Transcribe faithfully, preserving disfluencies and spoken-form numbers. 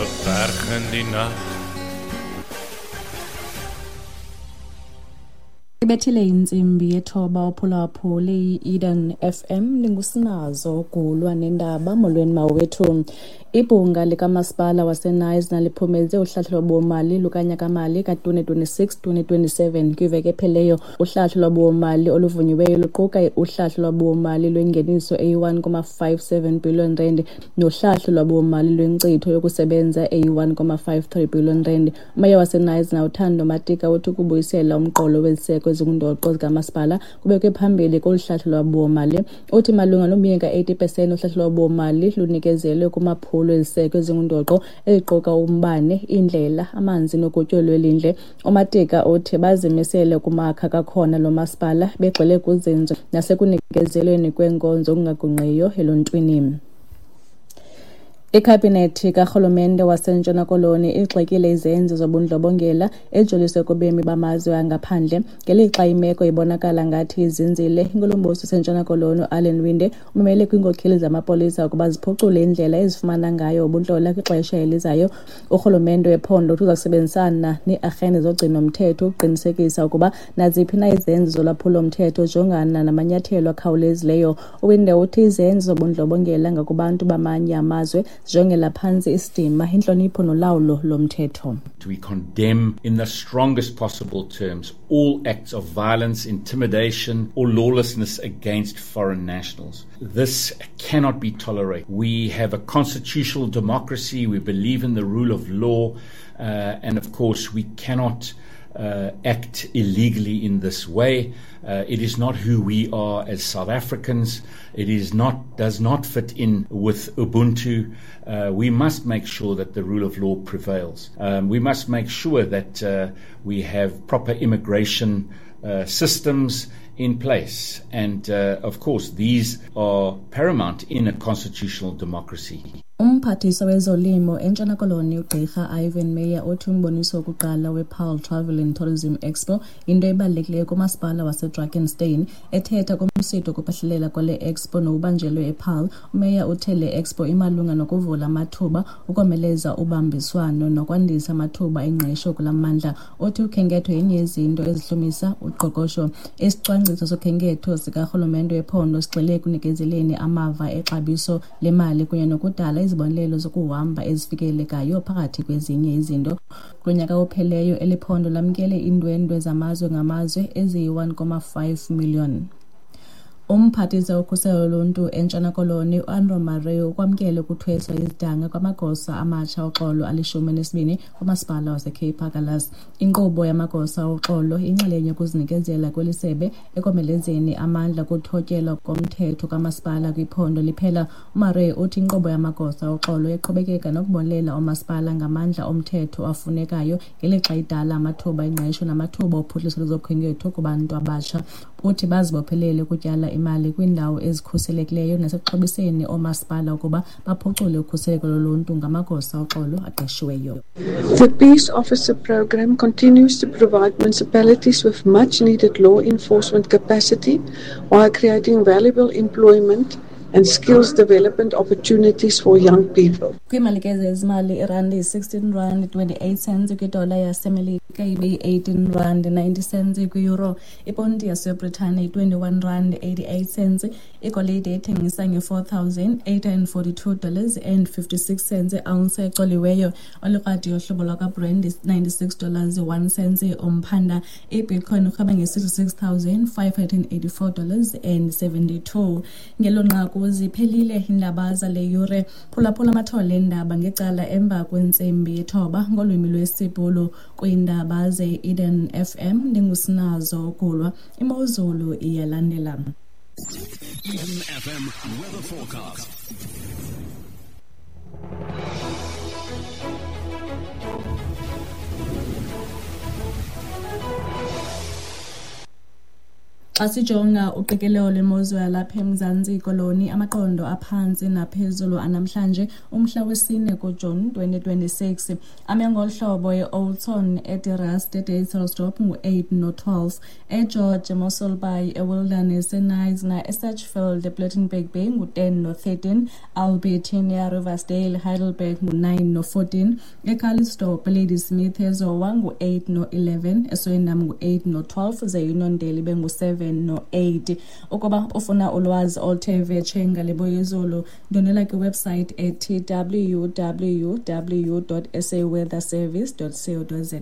Verberg in die nag. Ibethile intsimbi yethoba uphulaphule i-Eden F M lingusinazo gulwa nendaba. Molweni mawethu. Ibhunga likamasipala waseKnysna liphumeze uhlahlo lwabiwomali lukanyakamali ka twenty twenty-six twenty twenty-seven kwiveki ephelileyo. Uhlahlo lwabiwomali oluvunyiweyo luquka uhlahlo lwabiwomali lwengeniso eyi-one comma five seven billion rand nohlahlo lwabiwomali lwenkcitho yokusebenza eyi-one comma five three billion rand. Umeya waseKnysna uThando Matika uthi ukubuyisela umqolo weziseko ezingundoqo zikamasipala kubekwe phambili kolu hlahlo lwabiwomali. Uthi malunga nomyinge eighty percent uhlahlo lwabiwomali lunikezelwe kumaphulo eziseko ezingundoqo eziquka umbane, iindlela, amanzi nokutyo lwelindle. UMatika uthi bazimisele kumakha kakhona lo masipala begxile kuzinzo nasekunikezelweni kweenkonzo okungagungqiyo eluntwini. Ikhabhinethi karhulumente waseNtshona Koloni igxekile izenzo zobundlobongela ejoliswe kubemi bamazwe angaphandle. Ngelixa imeko ibonakala ngathi izinzile, inkulumbuso yaseNtshona Koloni uAllan Winde umemele kwiinkokheli zamapolisa ukuba ziphucule indlela ezifumana ngayo ubuntlola kwixesha elizayo. Urhulumente wephondo uthi uza kusebenzisana nee-arhente zogcino-mthetho ukuqinisekisa ukuba naziphi na izenzo zolwaphulo-mthetho zijongana namanyathelo akhawulezileyo. UWinde uthi izenzo zobundlobongela ngakubantu bamanye amazwe zijongela phantsi isidima, intlonipho nolawulo lomthetho. We condemn in the strongest possible terms all acts of violence, intimidation or lawlessness against foreign nationals. This cannot be tolerated. We have a constitutional democracy. We believe in the rule of law. Uh, and of course, we cannot Uh, act illegally in this way. Uh, it is not who we are as South Africans. It is not, does not fit in with Ubuntu. Uh, we must make sure that the rule of law prevails. Um, we must make sure that uh, we have proper immigration uh, systems in place. And uh, of course, these are paramount in a constitutional democracy. Umphathiswa wezolimo eNtshona Koloni uGqirha Ivan Meyer uthi umboniso wokuqala wePaarl Travel and Tourism Expo yinto ebalulekileyo kumasipala waseDrakenstein. Ethetha kumsitho wokuphahlelela kwale expo nokubanjelwe ePaarl, uMeyer uthe le expo imalunga nokuvula amathuba, ukomeleza ubambiswano nokwandisa amathuba engqesho kula mmandla. Uthi ukhenketho yenye yezinto ezihlumisa uqoqosho. Isicwangciso sokhenketho sikarhulumente wephondo sigxile ekunikezeleni amava exabiso lemali kunye nokudala izibonelelo zokuhamba ezifikelelekayo phakathi kwezinye izinto. Kunyaka opheleyo eli phondo lamkele iindwendwe zamazwe ngamazwe eziyi-one comma five million. Umphathiswa wokhuselo loluntu eNtshona Koloni uAndrew Murray ukwamkele ukuthweswa izidanga kwamagosa amatsha oxolo alishumi nesibini kumasipala waseCape Agulhas. Inkqubo yamagosa oxolo inxalenye yokuzinikezela kweli sebe ekomelezeni amandla kuthotyelwa komthetho kamasipala kwiphondo liphela. UMurray uthi inkqubo yamagosa oxolo iqhubekeka nokubonelela oomasipala ngamandla omthetho afunekayo ngelixa idala amathuba engqesho namathuba ophuhliso lwezokhenketho kubantu abatsha. Uthi bazibophelele ukutyala imali kwiindawo ezikhuselekileyo nasekuxhobiseni oomasipala ukuba baphucule ukhuseleko loluntu ngamagosa oxolo aqeshiweyo. The Peace Officer Program continues to provide municipalities with much needed law enforcement capacity while creating valuable employment and skills development opportunities for young people. Kwiimalike zezimali irandi yi-sixteen rand twenty-eight cents kwidola yaseMelika ibe yi-eighteen rand ninety cents kwi-euro. Iponti yaseBritane yi-twenty-one rand eighty-eight cents. Igolide ithengisa nge-four thousand eight hundred forty-two dollars and fifty-six cents i-ounce ecoliweyo. Olukrwada yohlobo lwakwaBrent ninety-six dollars one cent umphanda. IBitcoin irhweba nge-sixty-six thousand five hundred eighty-four dollars and seventy-two. Ngelo nqaku ziphelile iindaba zale yure. Phulaphula amathole eendaba ngecala emva kwentsimbi yethoba ngolwimi lwesiBhulu kwiindaba ze-Eden F M. Ndingusinazo Gulwa. Imozulu iyalandela. Eden F M weather forecast. Xa sijonga uqikelelo lwemozulu yalapha eMzantsi Koloni, amaqondo aphantsi naphezulu anamhlanje umhla wesine kuJuni twenty twenty-six ame ngolu hlobo: e-Oudtshoorn, eDe Rust, eDysselsdorp ngu-eight no-twelve, eGeorge, eMossel Bay, eWilderness, eKnysna, eSedgefield, ePlettenberg Bay ngu-ten no-thirteen, Albertinia, Riversdale, Heidelberg ngu-nine no-fourteen, eCalitzdorp, Ladysmith, eZowa ngu-eight no-eleven, eSwellendam ngu-eight no-twelve, ze Uniondale ibe ngu-seven no-eight. Ukuba ufuna ulwazi oluthe vetshe ngale yezulu, ndwendwela kwiwebsite ethi W W W dot saweatherservice dot co dot za.